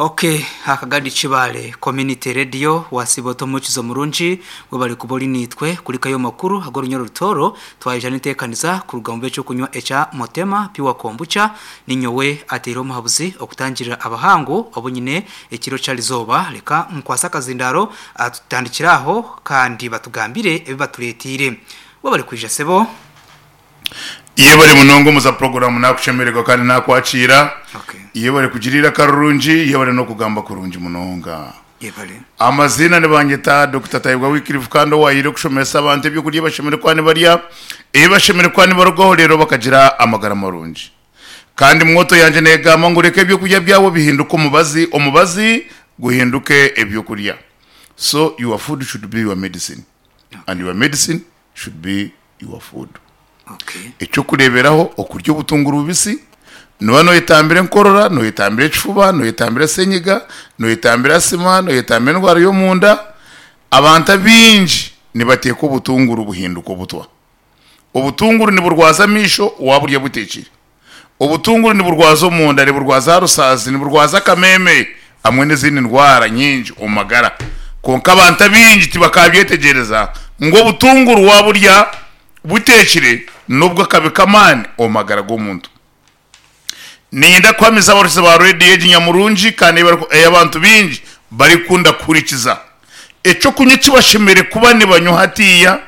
Ok Akagadi Kibaale Community Radio wasiiba ota omuhurikiza omurungi webare kuba ori naitwe kurikayo amakuru ag'orunya orutooro twaija n'enteekaniza kuruga omu b'ekyokunywa ekya Motema Pure Kombucha ninyowe ateire omuhabuzi okutangirira abahangu obu nyine ekiro ky'arizooba reka nkwase akazindaaro tutandikire aho kandi batugambire ebi batureeteire webare kwija sebo. Yebare munonga omuza puroguramu nakushemererwa kandi nakwakiira. Okay. Yebare kugira eiraka rirungi, yebare n'okugamba kurungi munonga. Yebare. Amaziina nibanyeta Dokita Tayebwa Wycliffe kandi owahaire okushomesa abantu ebyokurya ebi bashemereire kuba nibarya, ebi bashemereire kuba nibarugaho reero bakagira amagara marungi. Kandi mwoto yangye negamba ngu reka ebyokurya byawe bihinduke omubazi, omubazi guhinduke ebyokurya. So your food should be your medicine and your medicine should be your food. Eky'okureeberaho, okurya obutunguru bubisi, nooba nooyetambira enkorora, nooyetambira ekifuba, nooyetambira senyiga, nooyetambira asima, nooyetambira endwara y'omunda. Abantu abaingi nibateeka obutunguru buhinduka obutwa. Obutunguru niburwaza amaisho waaburya buteekire. Obutunguru niburwaza omunda, niburwaza aha rusaazi, niburwaza akameeme hamwe n'ezindi ndwara nyingi omu magara. Kwonka abantu abaingi tibakaabyetegyereza ngu obutunguru waaburya buteekire n'obw'akabi k'amaani omu magara g'omuntu. Niinyenda kuhamiza abahuurikiza ba rediyo egi nyamurungi kandi ei abantu baingi barikukunda kuhurikiza, eky'okunywa eki bashemereire kuba nibanywa hatiiya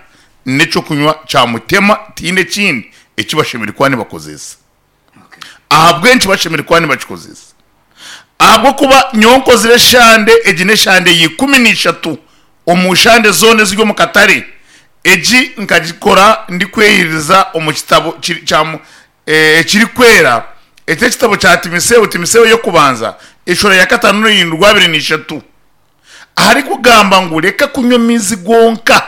n'eky'okunywa kya mutema tihaine ekindi eki bashemereire kuba nibakozesa. Ahabw'enki bashemereire kuba nibakikozesa? Ahabw'okuba nyowe nkozire eshande, egi n'eshande ya 13 omu shande zoona eziri omu katare. Egi nkagikora ndikweyiriza omu kitabo kya ekirikwera, eki n'ekitabo kya Timotheo, Timotheo y'okubanza, eshuura ya kataano n'orunyiriri rwa 23. Aharikugamba ngu reka kunywa amaizi gonka,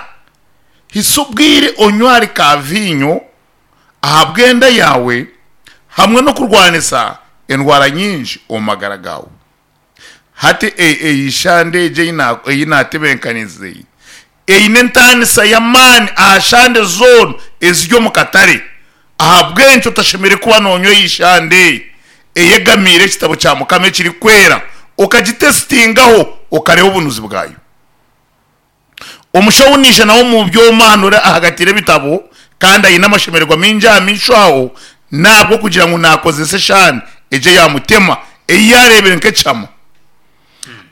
hitsya obwire onywe ahari ka viinyo ahabw'enda yaawe hamwe n'okurwanisa endwara nyingi omu magara gaawe. Hati eyi shande egi ei naatebeekanisize eine entaanisa y'amaani aha shande zoona eziri omu katare. Ahabw'enki otashemereire kuba noonywa eyi shande eyegamiire ekitabo kya Mukama ekirikwera okagitesitingaho okareeba obunuzi bwayo? Omushaho naija nawe omu byoma hanu ori ahagatiire ebitabo kandi aine amashemererwa maingi aha maisho aho n'ahabw'okugira ngu naakozesa eshaani egyo eya mutema ei yaareebire nk'ekihama.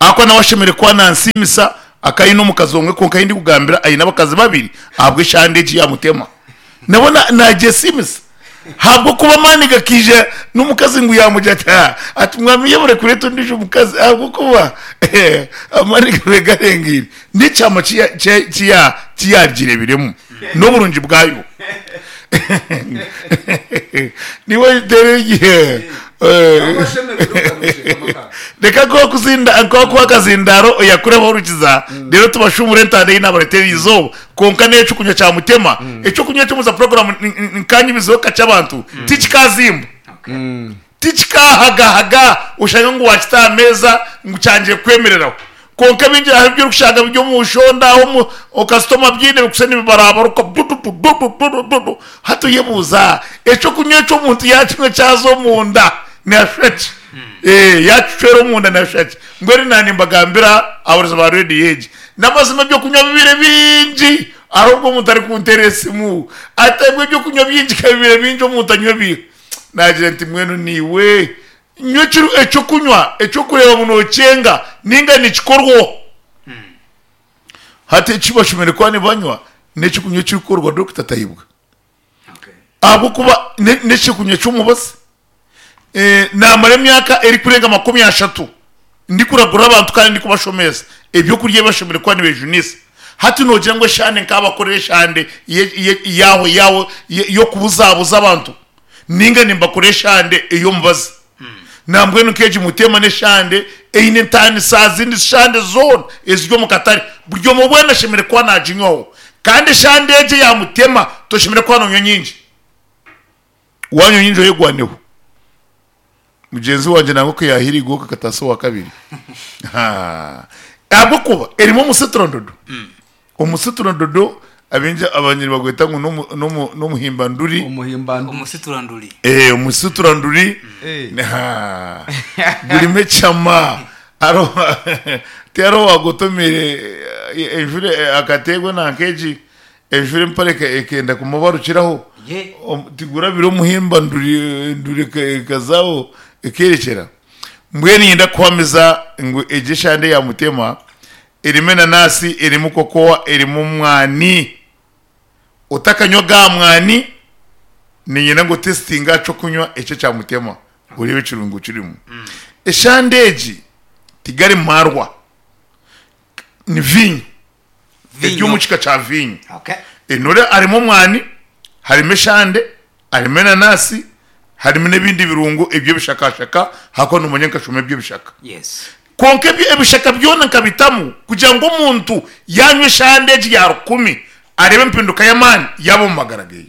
Ahakuba nawe ashemereire kuba nansiimisa akaba aine omukazi omwe kwonka ahi ndikugambira aine abakazi babiri ahabw'eshande egi yamutema. Nabwo nagyesiimisa ahabw'okuba amaani gakaija n'omukazi ngu yamugira ati haa ati mwami yebare kureeta ondiijo mukazi ahabw'okuba amaani gabaire garengeire. N'ekyama ki yagireebiremu n'oburungi bwayo. Niiwe Reka nkuhe akazindaaro oyakureho orukiza reero tubashuumure entanda ei naabareetera erizooba. Kwonka n'eky'okunywa kya Mutema, eky'okunywa eky'omuza puroguraamu nkaanyumizeho kakye abantu, tikikaazimba. Tikikaahagahaga oshange ngu waakita aha meeza ngu kyangire kukwemereraho. Kwonka ebingi hariho ebi orikushanga biri omu nshonda aho omu kasitoma biine bikushusha nibibarabaruka dududu dudu dudu dudu. Hati oyebuuza eky'okunywa eki omuntu yaakinywa kyaza omunda nashusha ki? Ee, yaakicwera omunda nashusha ki? Mbwenu naanye nimbagambira abahuurizi ba rediyo egi, n'amazima eby'okunywa bibaire bingi hariho obu omuntu arikunteerera esimu ati ebwe eby'okunywa bingi ka bibaire bingi omuntu anywa ebiiha? Naagira nti mbwenu naiwe nywa eky'okunywa eky'okureeba ngu nookyenga nainga nikikorwa. Hati eki bashemereire kuba nibanywa n'eky'okunywa ekirikukorwa Dokita Tayebwa ahabw'okuba n'eky'okunywa ky'omubazi. Naamara emyaka erikurenga 30 ndikuragura abantu kandi ndikubashomesa eby'okurya ebi bashemereire kuba nibejunisa. Hati noogira ngu eshande nkaabakorera eshande yaaho yaaho y'okubuzabuza abantu nainga nimbakora eshande ey'omubazi? Nambwenu nk'egi Mutema n'eshande eine entaaniso aha zindi shande zoona eziri omu katare. Buri omwe weena ashemereire kuba naaginywaho. Kandi eshande egi eya Mutema toshemereire kuba noonywa nyingi. Waanywa nyingi oyegwaneho. Mugyenzi wangye nangwa ku yaahiire eigooka akataasa owakabiri. Ahabw'okuba erimu omusiturandodo. Omusiturandodo abaingi abanyine nibagweta ngu n'omuhimbanduri. Omuhimbanduri. Omusituranduri. Omusituranduri. Gurimu ekyama. Hariho tihariho owagotomeire enjura akateerwa nanka egi enjura empare ekenda kumubarukiraho Ye. Tigurabire omuhimba nduri ekazaho ekerekyera. Mbwenu niinyenda kukuhamiza ngu egi eshande ya Mutema erimu enanasi, erimu kokowa, erimu omwani. Otakanywa aga mwani, niinyenda ngu otesitinge aha ky'okunywa eki ekya Mutema oreebe ekirungo ekirimu. Eshande egi tigari marwa, ni viinyo. Eri omu kika kya viinyo. Enore harimu omwani, harimu eshande, harimu enanasi, harimu n'ebindi birungo eby'ebishakashaka ahakuba noomanya nkashoma eby'ebishaka. Kwonka ebyo ebishaka byona nkabitamu kugira ngu omuntu yaanywa eshande egi ya rukumi areebe empinduka y'amaani yaaba omu magara geye.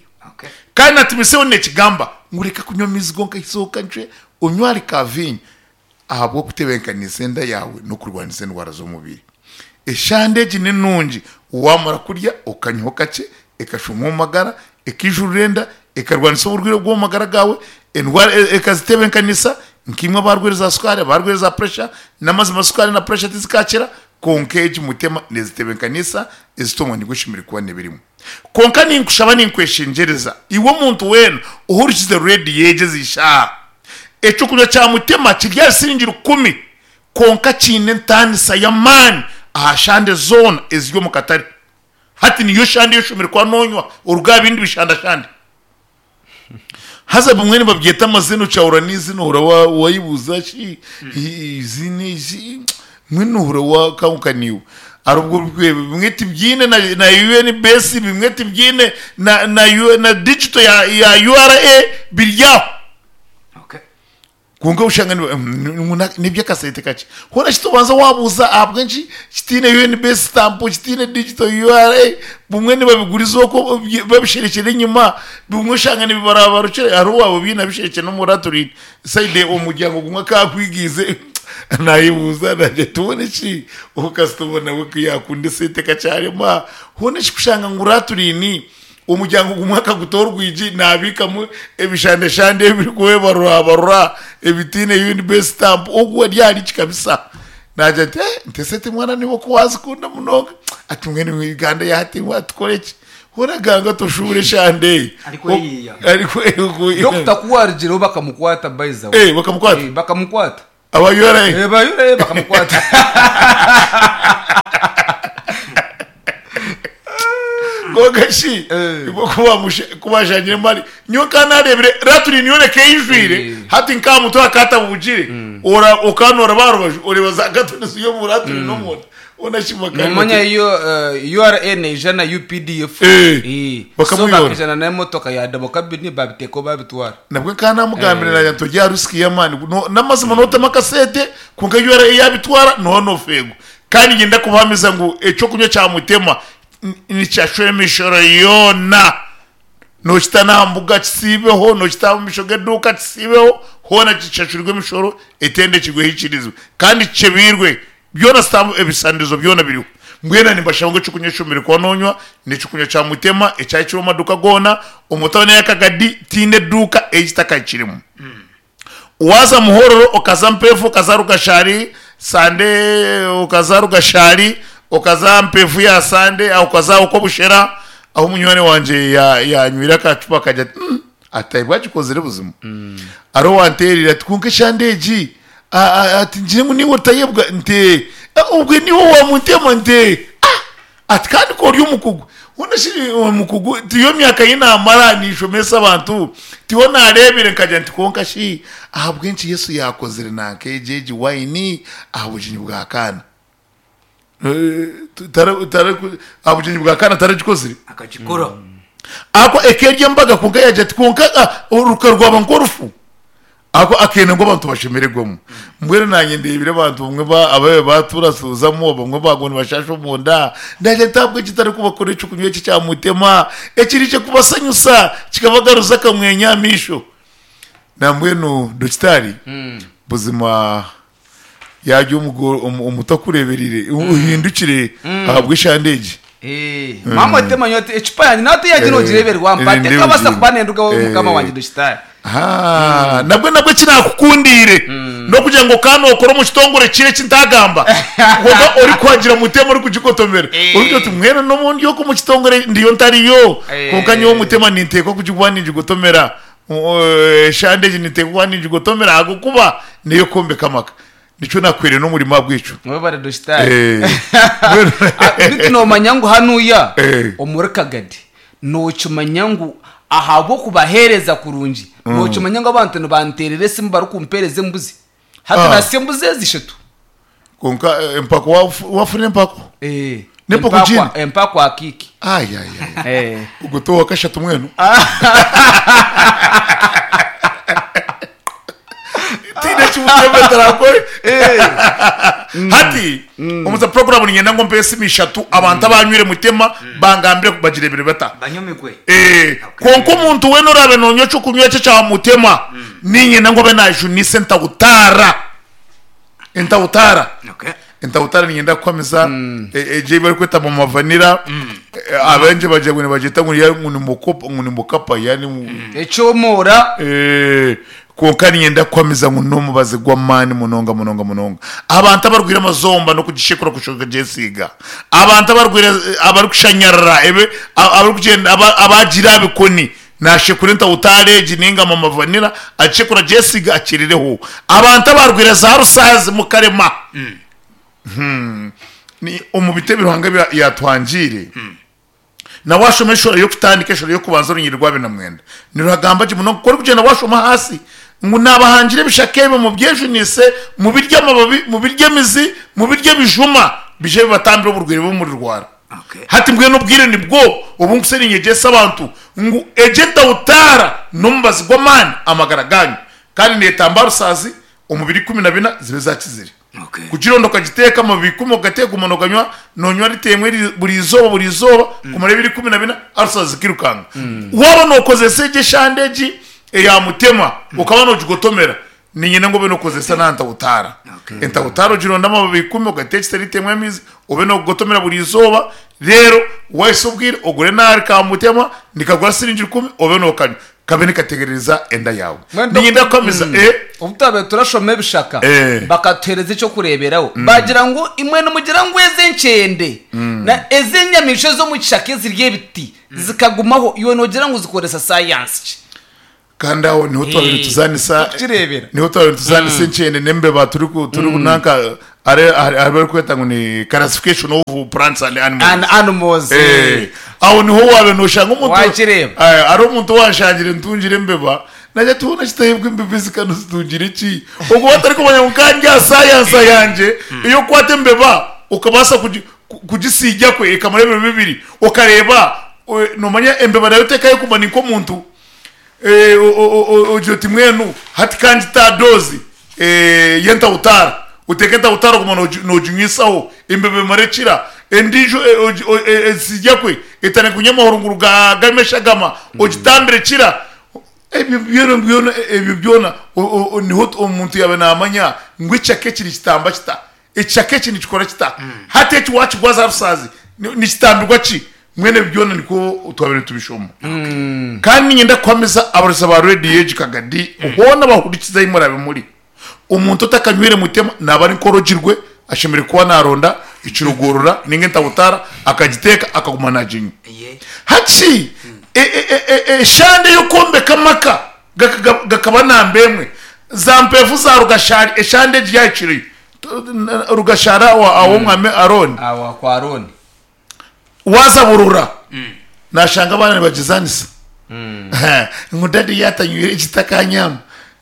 Kandi na Timotheo neekigamba ngu reka kunywa amaizi gonka izooka ncwe onywe ahari ka viinyo. Ahabw'okutebeekanisa enda yaawe n'okurwanisa endwara z'omubiri. Eshande egi ni nungi waamara kurya okanywaho kakye ekashuma omu magara, ekaijurura enda, ekarwanisa oburwaire bw'omu magara gaawe, endwara ekazitebeekanisa nkaimwe abarwaire za sukaari, abarwaire za puresha, n'amazima sukaari na puresha tizikaakira kwonka egi mutema neezitebeekanisa ezita omwanya ogu eshemereire kuba neeba erimu. Kwonka ninkushaba ninkweshengyereza iwe omuntu weena ohurikize reediyo egi ezi shaaha, Eky'okunywa kya Mutema kiri aha siringi rukumi kwonka kiine entaanisa y'amaani aha shande zoona eziri omu katare. Hati niyo shande ei oshemereire kuba noonywa oruga aha bindi bishandashande. Haza bimwe nibabyeta amazina okyahurira n'eizina ohurira wayebuuza shi eiziina eri mbwenu nohurira wakanguka naiwe. Hari obu bimwe tibyine na UNBS bimwe tibyine na digital ya URA biri aho. Kwonka oshanga ngu n'eby'akasente kakye. Hoona shi tobanza waabuuza ahabw'enki kitaine UNBS stamp, kitaine digital URA, bumwe nibabiguriza okwo babisherekyera enyima, bumwe oshanga nibibarabarukire, hariho owaaba obiine abisherekire n'omu ratulini, sayidi omuryango gumwe akakwigiize naayebuuza naagira ati hoona shi ogu kasitoma nawe ku yaakunda esente kakyarema, hoona shi kushanga ngu ratulini Omuryango gumwe akaguta orwigi naabiikamu ebishandeshande ebirikwebarurabarura ebitaine UNBS stamp. Ogu ari ahari ki kabisa. Naagira ati, eh, nti esente mwana niiwe oku waazikunda munonga. Ati mbwenu Uganda ya hati tukore ki? Hoona ganga toshuubure eshande eyo. Arikweyiiya. Arikweyiiya. Dokita ku waarugireho bakamukwata by the way. Eh, bakamukwata? Eh, bakamukwata. Aba URA? Eh, ba URA bakamukwata. Kwonka shi Eh. ibo ku bashangire mali nyowe nka narebire raturi niyo reka eyijwire Eh. hati nka mutwe akatabugire ora okanora barubaju oreba za katoni ziyo mu raturi n'omunda ona shi bakari Nomanya bati- iyo URA neija na UPDF. Eh, Eh, so bakamuyora. bakaija n'emotoka ya double cabin babiteeka babitwara. Nabwe nka namugambire nagira nti orya risiki y'amaani No- n'amazima notema akasente kwonka URA yabitwara noba nofeegwa kandi nyenda kubahamiza ngu ekyokunywa kya mutema nikyashwa emishoro yoona nokita n'aha mbuga kisiibeho nokita aha maisho g'eduuka kisiibeho hoona kishashurwe emishoro etendekirwe ehikirizibwe kandi kikyebiirwe Byona stamp ebisanirizo byona biriho. Mbwenu nimbashaba ngu ekyokunywa eki omire kuba nonywa n'ekyokunywa kya Mutema ekyahikire omu maduuka goona omu tauni eya Kagadi tihaine eduuka ei kitakahikiremu. Waaza Muhororo okaza Mpeefu okaza Rugashari Sande okaza Rugashari okaza Mpeefu ya Sande aho okaza aho Kobushera ahu munywani wangye yanywire akacupa akagira ati mm ati agikozire buzima. Hariho owanteerire ati kwonka eshande egi Ati ngire ngu niiwe otayebwa? Nti ee. Obwe niiwe owamuntema? Nti ee. Ati kandi ku ori omukugu? Hoona shi omukugu tiyo myaka ei naamara ninshomesa abantu tiho naareebire nkagira nti kwonka shi ahabw'enki Yesu yaakozire nanka egi egi waini aha bugyenyi bwa Kaana? Aha bugyenyi bwa Kaana taragikozire? Akagikora. Ahabw'okuba eka eri embaga kwonka yaagira ati kwonka oruka rwaba nk'orufu. Ahabw'okuba akenda ngu abantu bashemererwemu. Mbwenu naanye ndeebire abantu bamwe ba- ababaire baaturasuuzamu, abamwe baaguma nibashaasha omunda. Naagira nti ahabw'enki ntarikubakorera eky'okunywa eki ekya mutema, ekiriije kubasanyusa, kikabagaruza akamwenyo aha maisho. Nambwenu dokitaari, buzima yaarya omuto akureebereire, ohindukire ahabw'eshande egi. Maama otema nyowe ati ecupa yangye nawe teyangye nogireeberwa mpa Nindi tekabasa bugiire. kuba nendugaho mukama wangye dokitaari. Ahaa, nabwe nabwe eki naakukundiire n'okugira ngu okaba nookora omu kitongore kiri eki ntaagamba kwonka orikuhagira mutema orikugigotomera Eh. orikugira oti mbwenu n'obu ndi oku omu kitongore ndiyo ntariyo kwonka nyowe Eh. mutema ninteekwa kugikuba ningigotomera eshande egi ninteekwa kuba ningigotomera ahabw'okuba n'ey'okwombeka amaka. Nikyo naakuhaire n'omurimo ahabw'ekyo. Webare Dositari. Eh. Mbwenu- Ah, Bitu noomanya ngu hanuya Eh. omuri Kagadi nookimanya ngu ahabw'okubaheereza kurungi nookimanya ngu abantu nibanteerera esimu barikumpeereza embuzi. Hati Ah. nasya embuzi ezi ishatu. Kwonka eh, empako wafu- wafuna empako? Eh, N'empako empakwa- gini? Empakwa akiiki. Ai, ai, ai. Eh. Ogwo ti owa kashatu mbwenu? Tihaine eki Mutema atarakore. Hati omu za puroguramu niinyenda ngu ompe esimu ishatu abantu abanywire Mutema bangambire bagireebire bata. Banyomigwe. Eh, kwonka omuntu weena oraabe noonywa eky'okunywa eki ekya Mutema, niinyenda ngu abe naajunisa entahutaara. Entahutaara. Okay. Entahutaara niinyenda kukuhamiza egyo ei barikweta mama vanilla, abaingi bagira ngu nibagyeta ngu ni- ngu ni mukopa ngu ni mukapa yaani ngu Ekyomoora. Eh, kwonka niinyenda kukuhamiza ngu n'omubazi gw'amaani munonga munonga munonga. Abantu abarwaire amazomba n'okugishekura kushuba okagyesiiga, abantu abarwaire abarikushanyarara ebe abarikugyenda aba abaagiire aha bikoni Nashekura entahutaara egi ninga mama vanilla agishekura agyesiga akirireho. Abantu abarwaire za rusaazi mukarema. Hmm. Ni omu biti ebi Ruhanga ebi yatuhangiire, na washoma eshura y'okutandika eshura y'okubanza orunyiriri rwa abiri na mwenda niruragamba gye munonga ku orikugyenda washoma ahaasi ngu nabahangira ebishaka ebi mubyejunise mubirye amababi mubirye emizi mubirye ebijuma bije bibatambire oburwaire bu murirwara. Okay. Hati mbwenu obwire nibwo obu nkutsya ninyegyesa abantu ngu egyo entahutaara n'omubazi gw'amaani amagara gaanyu kandi neetamba rusaazi omu biro 14 zibe zaakizire. Okay. Kugironda okagiteeka amababi ikumi ogateeka oguma nooganywa noonywa rita emwe eri- buri izooba buri izooba kumara ebiro 14 arusaazi zikairukanga. Waaba nookozesa egyo eshande egi eya mutema okaba noogigotomera Niinyenda ngu obe nookozesa na ntahutaara. Entahutaara ogironde amababi ikumi ogateekyese liita emwe y'amaizi obe noogotomera buri izooba reero waahitsya obwire ogure n'ahari ka mutema nikagura siringi rukumi obe nookanywa kabe nikategerereza enda yaawe. Mbwenu Niinyenda Doctor, kukuhamiza eh. Obu twabaire turashoma ebishaka Eh. bakatuheereza eky'okureeberaho baagira ngu imwe nimugira ngu ezi enkyende na ezi enyamaishwa ez'omu kishaka ezirya ebiti zikagumaho iwe noogira ngu zikoresa sayansi ki? Kandi aho niho twabaire nituzaanisa Tukukireebera. niho twabaire nituzaanisa enkyende n'embeba turi ku- turi nanka are ahu barikweta ngu ni classification of plants and animals. And animals. Eh, aho niho waabaire nooshanga omuntu Wakireeba. Eh, hariho omuntu owanshangire ntungire embeba nagira ati hoona kitahebwa embeba ezi ka nozitungire ki? Obwo batarikumanya ngu nka ndi aha sayansa yangye ey'okukwata embeba okabaasa kugi kugisiiga kwe ekamara ebiro bibiri okareeba noomanya embeba nayo tekayo kuguma ni nk'omuntu. Ogira oti mbwenu hati ka ngite aha doozi y'entahutaara, oteeke entahutaara oguma nooginywisaho embeba emare ekira, endiijo esirya kwe etandike kunywa amahurunguru garimu eshagama ogitambire ekira. Ebyo byona byona ebyo byona niho omuntu yaaba naamanya ngu ekishaka eki nikitamba kita, ekishaka eki nikikora kita, hati eki waakigwaza aha rusaazi nikitambirwa ki? Mbwenu ebi byona nikwo twabaire nitubishoma. Kandi niinyenda kuhamiza abarozi ba rediyo egi Kagadi hoona abahurikize ahi muraabe muri, omuntu otakanywire mutema naaba ari nk'orogirwe ashemereire kuba naaronda ekirogorora nainga entahutaara akagiteeka akaguma naaginywa. Hati eshande ey'okwombeka amaka gakaba namba emwe, za mpeefu za Rugashari eshande egi yaahikireyo. Rugashari aw'omwami Arooni. Aho kwa Arooni. Waaza burora nashanga abaana nibagyezanisa ngu dadi yatanywire egi takanyama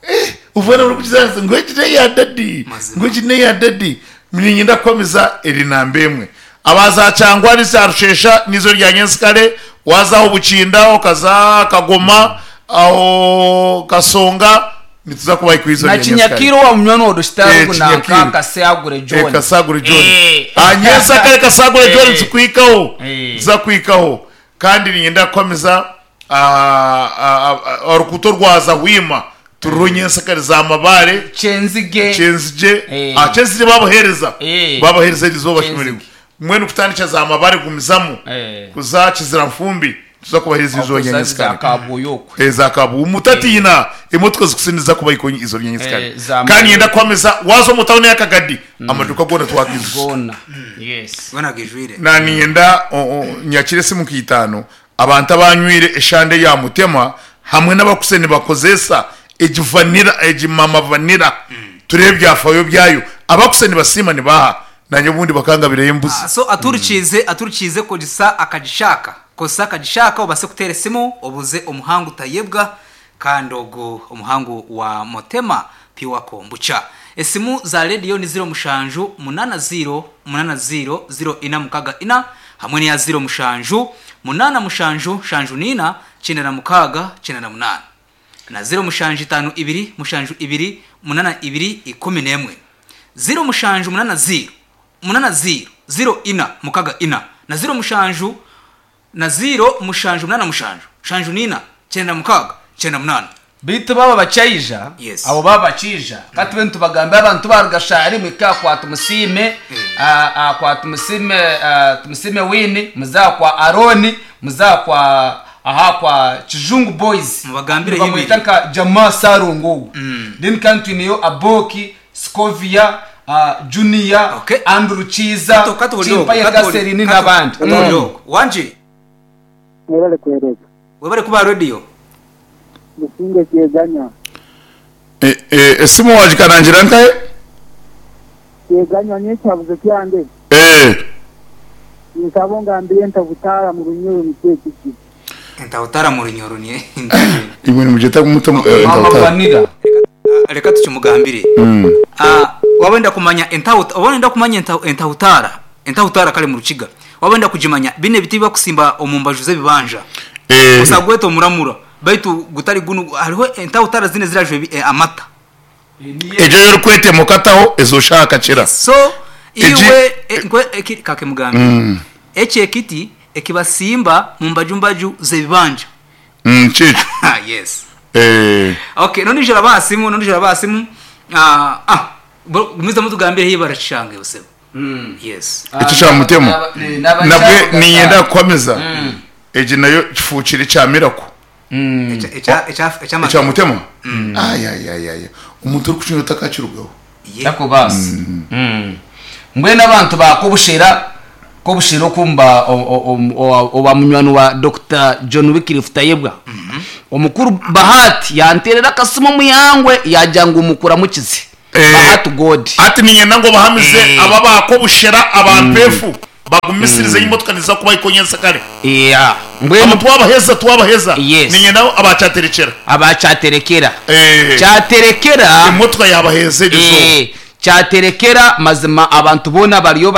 Eh, obwana burikugyezanisa ngu egi neya dadi Mazima. ngu egi neya dadi niinyenda kukuhamiza eri namba emwe abaza kyangwari za rushesha nizo rya nyensikare waaza aho bukinda okaza kagoma aho kasonga Nituza kubaha ikwizo Na rya nyensikare. Kinyakiire owa munywani wa Dositari Eh, ogu nanka Kinyakiire. Kasagure Eh, John. Kasagure John. Eh. Ah, nyensikare Kasagure John Eh. nitukuhikaho. Eh. Nituza kuhikaho. Kandi niinyenda kukuhamiza ah, ah, ah, oruguuto rwa Zahwima turiho nyensikare za Mabare. Kyenzige. Kyenzigye. Eh. Ah, Kyenzigye babaheereza. Eh. Babaheereza erizooba bashemereirwe. Kyenzige. Mbwenu kutandikira za Mabare gumizamu Eh. kuza Kiziranfumbi. Nituza kubahereza izo Okozesa nyanyasikare. za kabwoyokwe. Eza kabwo mutatiina emotoka zikusiniza kuba ikonyi izo nyanyasikare. Eh, za Kandi yenda kwameza wazo mu town yakagadi amaduka gona twagize. Gona. Yes. Gona gijwire. Na niyenda nyakire simu kitano abantu abanywire eshande ya mutema hamwe n'abakuseni bakozesa egivanira egimama vanira turebe byafayo byayo abakuseni basima nibaha nanye ubundi bakangabira embuzi. So aturikize aturikize kogisa akagishaka kosa akagishaka obase kutera esimu obuze omuhangu tayebwa kandi ogu omuhangu wa motema piwa kombucha. Esimu za radio ni 07 80 80 0464 hamwe n'iya 07 8 7 4 96 98 na 07 52 72 82 11 07 80 80 04 64 na 07 na 0 7 8 7 4 96 98. Bitu baba bachaija. Yes. Abo baba bachija kati be nitubagambe abantu barugashari mwika kwa tumusime, kwa tumusime, tumusime wini muzakwa Aroni muzakwa aha kwa Chijungu Boys. Mubagambire Bamwita yibiri. nka Jamaa Sarungu. Then kandi niyo Aboki Scovia, Junior. Okay. Andrew Chiza, Chimpaye Kaserini n'abandi. Wanje. Mwebale kuhereza. Webale kuba radio. Musinge kyeganya. Esimu wagikarangira nkaye? Kyeganya n'ekyabuze kyange. Nsaba ngambire ntabutara mu runyoro nikyo kiki. Ntabutara mu runyoro ni. Ibintu mugeta kumuta Mama Vanilla. Reka tukimugambire. Wabenda kumanya entawuta, wabenda kumanya entawutara. Entawutara kale mu rukiga. Wabenda kujimanya bine biti bakusimba omumbaju z'ebibanja. Usagweta omuramura. Baitu gutari gunu hariho entawutara zine zirajwe amata. Ejo yorukwete mukataho ezoshaka kira. So iwe nkwe kake mugambi. Eche ekiti ekibasimba mu mbajumbaju z'ebibanja. Chicho. Yes. Okay, none jara basimu, none jara basimu. Gumiza mutugambire hiba barashange usebo. Yes. Icyo cya mutema. Nabwe niyenda kwameza. Eje nayo kifuchire cya mirako. Echa mutema. Ay ay ay ay. Umuntu uri kuchinyota kachirugaho. Yako basi. Mbwe n'abantu bakobushera kobushera okumba oba munywani wa Dr. John Wycliffe Tayebwa. Omukuru Bahati yanterera akasimo muyangwe yajanga umukura mukizi. Bahati God. Ati ninyenda ngo bahamize aba bakobushera abampefu bagumisirize imotoka niza kuba ikonyesa kare. Yeah. Mbwe twabaheza twabaheza. Yes. Ninyenda abachaterekera. Abachaterekera. Chaterekera imotoka yabaheze ejo. Cyaterekera mazima abantu bona bariyo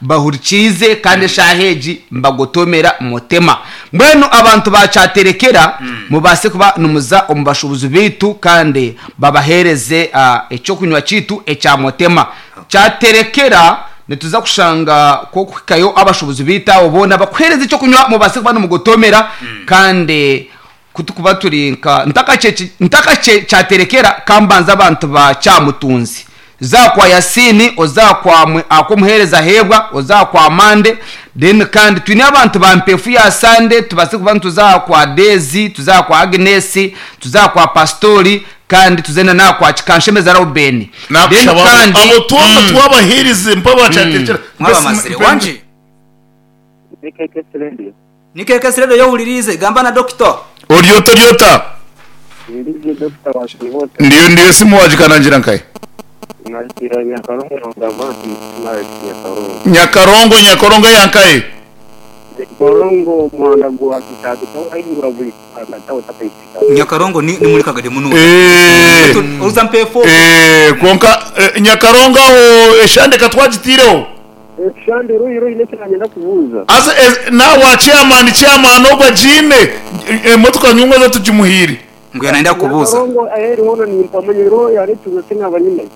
bahurikize kandi shaheji mbagotomera mutema. Mbwenu abantu bacaterekera mubase kuba numuza omubashubuzi bitu kandi babahereze ecyo kunywa kitu ecya mutema. Cyaterekera nituza kushanga ko kukayo abashubuzi bita obona bakwereze icyo kunywa mubase kuba numugotomera kandi kutukuba turinka ntaka cyaterekera kambanza abantu ba cyamutunzi. Zakwa Yasini ozakwa akomuhereza hebwa ozakwa Mande then kandi twine abantu ba mpefu ya Sande tubase kuba tuzakwa Dezi tuzakwa Agnes tuzakwa Pastori kandi tuzena nakwa Kikanshemeza Ruben then kandi abo tuba twabahirize mpaba cyaterekera mwabamazire wanje Nikeke Radio yohulirize gamba na doctor Oriota Oriota Ndiyo ndiyo simu wajikanangira nkaye Nyakarongo Nyakarongo yankaye Nyakarongo mwanda gwa kitatu ahingura buli katawo tapaitika Nyakarongo ni muri kagade muno uza mpefo konka Nyakarongo aho eshande katwagitireho Eshande ruyi ruyi nekiranye ndakubuza Asa na wa chairman chairman ogwa jime motoka nyungo zo tujimuhiri ngo yanaenda kubuza Nyakarongo aheri hono ni mpamanyiro yaretuze sinabanyine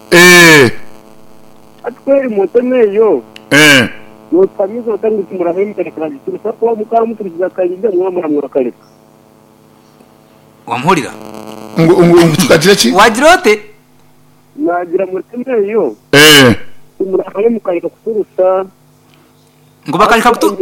Atweri moto neyo Notamizo tangu tumurahemu karekera giturusa kwa mukara muturiza kayinde mwamura murakareka Wamuhurira ngo ngo tukagira ki Wagirote Nagira moto neyo Tumurahemu kareka kuturusa ngo bakareka kutu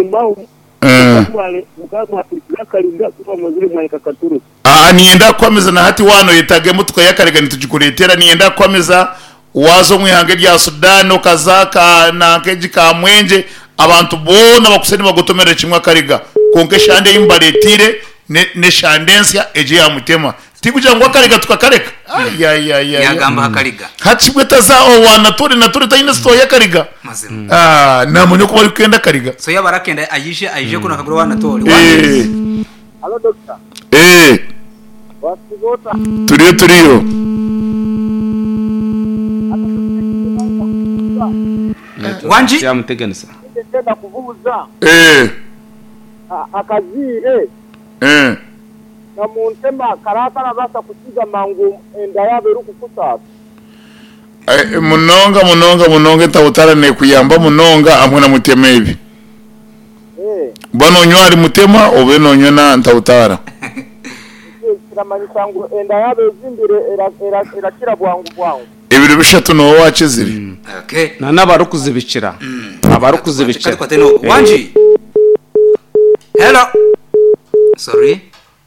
Mukaba mwaturukire akariga ku mwamazire mwahika Katurusi. Aa niinyenda kukuhamiza na hati waaba noyetaaga emotoka y'akariga nitugikureetera. Niinyenda kukuhamiza waaza omu ihanga erya Sudan okaza ka nanka egi Kamwengye abantu boona bakwitse nibagotomerera kimwe akariga. Kwonka eshande ei mbareeteire ne n'eshande ensya egi eya Mutema. Tikugira ngu akariga tukakareka. Ayayayaya. Yagamba aha kariga. Hati bwe taza owa Natore, Natore taine sitoo y'akariga. Mazima. Ah, namanya oku barikwenda akariga. So yaba arakenda ayije ayije kunu akagura owa Natore. Eh. Halo Dokita. Eh. Wasiiba ota? Turiyo turiyo. Wangi? Yamuteganisa. Ndenda kubuuza Eh. akaziire Eh. na muntema kara karabaasa kukiza mangu enda yaaba erikukusaasa? Eh, munonga munonga munonga entabutara nekuyamba munonga hamwe na mutema ebi. Eh, Ba nonywa ahari mutema obe nonywa na ntabutara. ekyo kiramanyisa ngu enda yaaba ezimbire era- era- erakira bwangu bwangu. Ebiro bishatu nooba wakizire. Okay. Na n'abarikuzibikira. Abarikuzibikira. Kati no. Wangi. Hello. Sorry.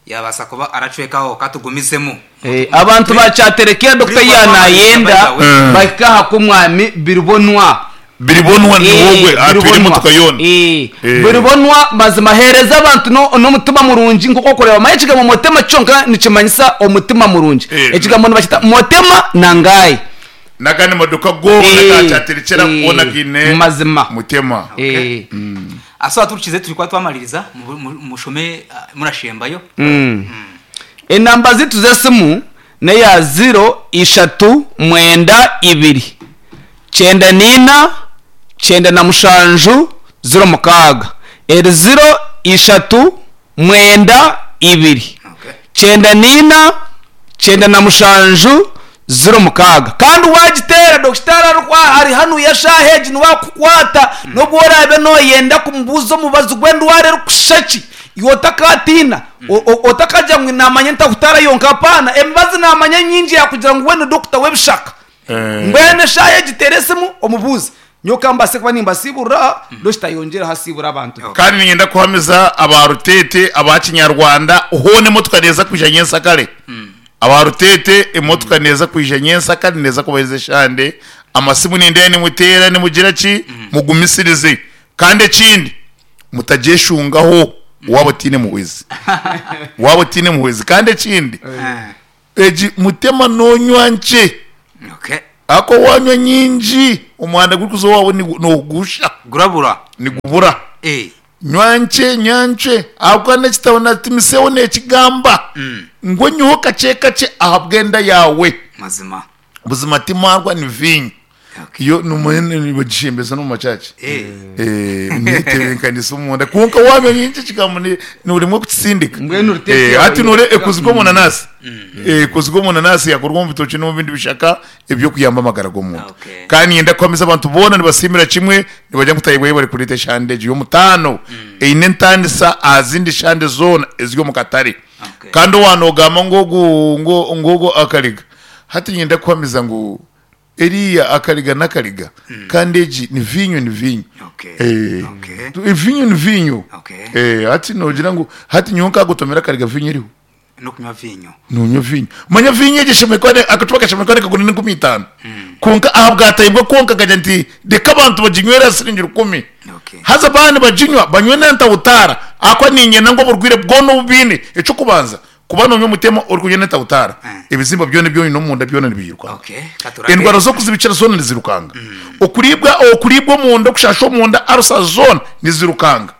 Yabaasa kuba aracwekaho katugumizemu. Eh, abantu bakyaterekera Dr. yanayenda Mm. bahika aha kumwami biribonwa. Biribonwa ni wogwe Eh, atwire biribonwa. emotoka yoona. Eh, Eh. biribonwa mazima hereza abantu no- n'omutima murungi nk'oku okureba manya ekigambo motema kyonka nikimanyisa omutima murungi Eh. ekigambo nibakita motema nangayi N'agandi maduka goona Eh, gakyaterekyera eh, goona gaine mazima. mutema. Eh, Aso aturukize turi kuba twamaririza mu- mu- mushome ah, murashembayo. enamba zitu z'esimu neya 0 ishatu mwenda ibiri 94 97 06 eri 0 ishatu mwenda ibiri Okay. 94 97 06 kandi wagiteera dokitari arikwa ari hanu yashaaha egi niwakukwata n'obu oraabe nooyenda kumubuuza omubazi gw'endwara erikushusha ki iwe otakatiina O- o- otakagira ngu naamanya ntakutaara yonka apaana emibazi naamanya nyingi yakugira ngu we ni dokita w'ebishaka Eh. mbwenu eshaaha egi teera esimu omubuuze nyowe mbase kuba nimbasiiburira dokita yongyere asiibura abantu Okay. Kandi niinyenda kuhamiza aba Rutete aba Kinyarwanda hoona emotoka neeza kwija nyensakare. Aba Rutete emotoka neeza kwija nyensakare neeza kubaheereza eshande. Amasimu nindeeba nimuteera nimugira ki mugumisirize. Kandi ekindi mutagyeshungaho waaba otaine muhwezi. Waaba otaine muhwezi. Kandi ekindi Ah, egi mutema noonywa nkye. Okay. Ahakuba waanywa nyingi omuhanda gurikuza owaawe noogusha Gurabura. nigubura. Eh. Nywa nkye nywa nkye ahabw'okuba n'ekitabo na Timotheo neekigamba ngu onyweho kakye kakye ahabw'enda yaawe. Mazima. Buzima ti maarwa ni viinyo. Okay. Yo nibagishembeza n'omu makyakye. Eh. Eh, netebeekanisa omunda kwonka waanywa nyingi ekigambo ni- noremwa kukisindika. Mbwenu oriteeka Eh, hati nore yawe- ekozirwe omu nanasi. Eh, ekozirwe omu nanasi yakorwa omu bitookye n'omu bindi bishaka eby'okuyamba amagara g'omuntu. Okay. Kandi niinyenda kuhamiza abantu boona nibasiimira kimwe nibagira ngu Tayebwa yebare kureeta eshande egi y'omutaano eine entaanisa aha zindi shande zoona eziri omu katare. Okay. Kandi owa noogamba ngu ogu ngu ngu ogu akariga hati niinyenda kuhamiza ngu eriya akariga n'akariga kandi egi ni viinyo ni viinyo. Okay. Eh, Okay. viinyo ni viinyo. Okay. Eh, hati noogira ngu hati nyowe nkagotomera akariga viinyo eriho. N'okunywa vinyo. Nonywa viinyo. Manya viinyo egi eshemereire kuba akacupa kashemereire kuba nikagura n'enkumi itaano. Kwonka aha bwatayibwa kwonka nkagira nti reka abantu baginywere aha siringi rukumi. Okay. Haza baaba nibaginywa banywe n'entabutaara ahakuba niinyenda ngu oburwaire bwona obu baine eky'okubanza kuba nonywa omutema orikunywa n'entabutaara ebizimba byona ebi oine omunda byona nibiirukanga. Okay. Katurage. Endwara z'okuzibikira zoona nizirukanga. Okuriibwa okuriibwa omunda okushasha omunda arusa zoona nizirukanga.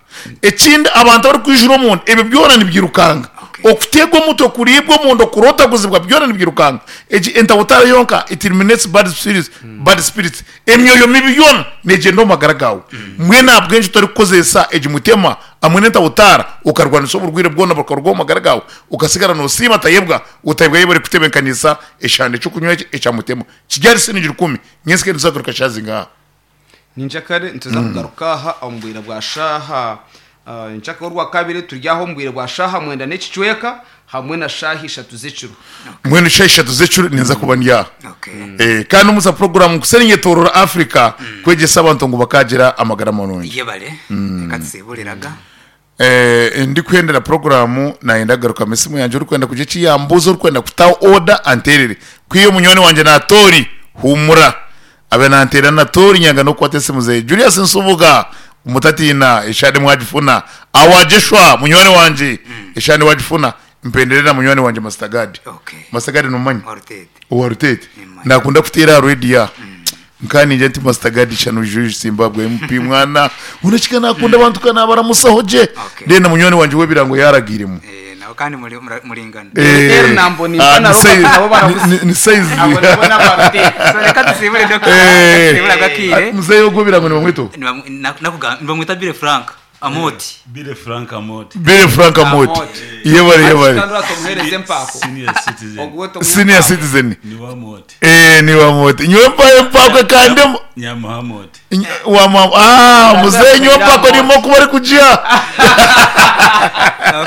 Ekindi abantu abarikwijura omunda ebyo byona nibyirukanga. Okay. Okuteegwa omutwe, kuriibwa omunda, okurootaguzibwa byona nibyirukanga. Egi entabutaara yonka it eliminates bad spirits, bad spirits. Emyoyo mibi yoona neegyenda omu magara gaawe. Mbwenu ahabw'enki otarikukozesa egi mutema hamwe n'entabutaara okarwanisa oburwaire bwona bukaruga omu magara gaawe okasigara noosiima Tayebwa otayebwa yebare kutebeekanisa eshande ky'okunywa eki ekya mutema. Kiri ahari siringi rukumi nyentsya nituza kugaruka shaaha zingaha? Ninkyakare nituza kugaruka aha omu bwire bwa shaaha ah, nkyakare orwakabiri turi aha omu bwire bwa shaaha mwenda n'ekicweka hamwe na shaaha ishatu z'ekiro. Mbwenu shaaha ishatu z'ekiro ninza kuba ndi aha. Okay. Eh, kandi omuza puroguramu nkusere nyetorora Africa kwegyesa abantu ngu bakagira amagara marungi. Yebare. Reka tusiburiraga. Eh, ndikuhendera puroguramu nayenda kugarukamu esimu yangye orikwenda kugira eki yambuuza orikwenda kutaho oda anteerere. Kwiha munywani wangye Natori humura abe nanteera Natori nyanga n'okukwata esimu ze. Julius Nsubuga mutatiina eshande mwagifuna. Awajeshwa munywani wangye eshande wagifuna. Mpendere na munywani wangye Master Gad. Okay. Master Gad nomumanya? Wa Rutete. Owa Rutete. Nimumanya. Nakunda kuteera aha radio aha. Nka ningira nti Master Gad shana oije Zimbabwe MP mwana. Unakika nakunda abantu ka nabaramusaho gye. Okay. Then na munywani wangye w'ebirango yaragiiremu. Eh, nawe kandi muri- mura- muringana. Eh, Er nambo ni ah, na ni Robert size- nabo barabuze. ni size. Abo nabo n'abarutete. So reka tusibure Dr. Eh, Tusibure agakire. muzeyi ogw'ebirango nibamwita ogu? Nibamwita Bire Frank Amoti. Bire Frank Amoti. Bire Frank Amoti. Amoti. Yebare yebare. Kandi uratomwereze empako. Senior citizen. Ogwo tomuhe Senior empako. citizen. Ni wa Moti. Eh, ni wa Moti. Nyowe mpaye empako kandi Nyamuha Moti. wa mama ah muzeyi nyowe empako nimo kuba ari kujya.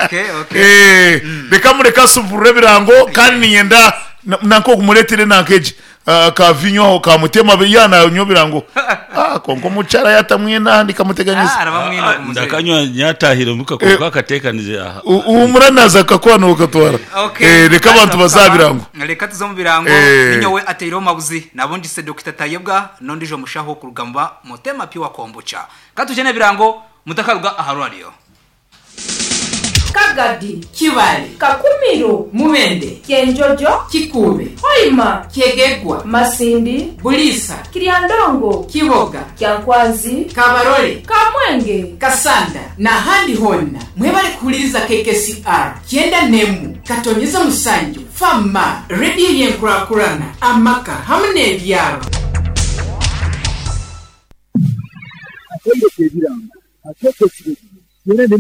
Okay, okay. Eh, reka mureke asuvurure ebirango kandi ninyenda nanko kumuretere nankeji ka vinyo aho kamutema yana nyo birango ah konko mucara yatamwena handi kamuteganyisa Ah, arabamwina ku muzeyi. Ndakanywa nyatahire muka Eh. kuko akatekanize aha. umuranaza akakwana ukatwara Okay. eh reka abantu bazabirango Reka tuze mu birango. Eh. Ninyowe ateireho mabuzi. Nabundi se Dr. Tayebwa nondijo mushaho kurugamba Motema Pure Kombucha. Katujene birango mutakaruga aha radio. Kagadi, Kibale, Kakumiro, Mubende, Kyenjojo, Kikuube, Hoima, Kyegegwa, Masindi, Bulisa, Kiryandongo, Kiboga, Kyankwanzi, Kabarole, Kamwenge, Kasanda n'ahandi honna mwebale kuwuliriza KKCR 91 katonyeza musanju fama rediyo y'enkurakurana amaka hamu n'ebyaro. Atendeka ebirango, ateeka ekiragiro, era ne